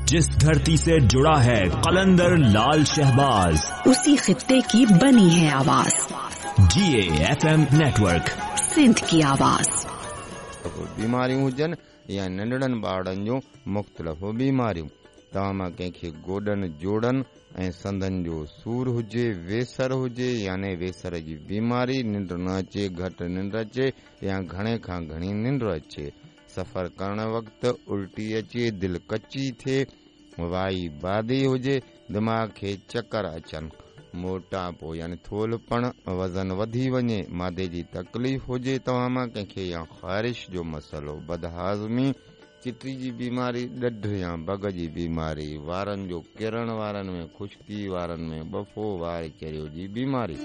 जिस धरती से जुड़ा है कलंदर लाल शहबाज, उसी खित्ते की बनी है आवाज। GAFM network, Sindh की आवाज। बीमारियूं हुजनि या नंढड़नि ॿारनि जूं मुख़्तलिफ़ बीमारियूं। तव्हां मां कंहिंखे गोॾनि, जोड़नि ऐं संधनि जो सूर हुजे, वेसर हुजे याने वेसर जी बीमारी, निंड न अचे, घटि निंड अचे या घणे खां घणी निंड अचे, सफ़र करण वक़्तु उल्टी अचे, दिलि कची थिए, वाई बादी हुजे, दिमाग़ खे चकर अचनि, मोटापो यानी थोलपण, वज़न वधी वञे, मादे जी तकलीफ़ हुजे तव्हां मां कंहिंखे या ख़ारिश जो मसइलो, बदहाज़मी, चिटी जी बीमारी, ॾढ या बग जी बीमारी, वारनि जो किरण, वारनि में ख़ुश्की, वारनि में बफ़ो, वार चरियो जी बीमारी,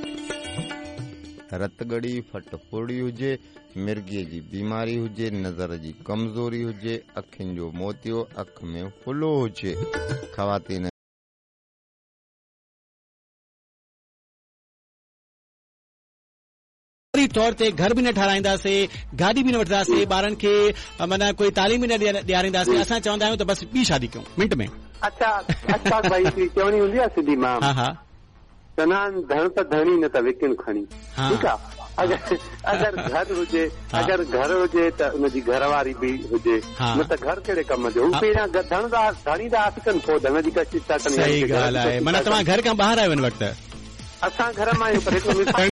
रतगड़ी, फट फोड़ी हुजे, मिर्गीअ जी बीमारी हुजे, नज़र जी कमज़ोरी हुजे, अखियुनि जो मोतियो, अखि में फुलो हुजे, ख़वातीन तौर ते घर बि न ठाराईंदासीं, गाॾी बि न वठंदासीं, ॿारनि खे माना कोई तालीम बि न ॾियारींदासीं। असां चवंदा आहियूं त बसि ॿी शादी कयूं मिंट में। अच्छा अच्छा भाई, हिकिड़ी चवणी हूंदी आहे सिंधी मां, हा हा, चवंदा आहिनि धण त धणी न त विकिण खणी। ठीकु आहे, अगरि घर हुजे, अगरि घर हुजे त उनजी घरवारी बि हुजे, न त घर कहिड़े कम जो। हू पहिरियां धण था धणी था हाथ कनि, पोइ धण जी कशिश था कनि। सही ॻाल्हि आहे। माना तव्हां घर खां ॿाहिरि आहियो हिन वक़्तु? असां घर मां आहियूं, पर हिकिड़ो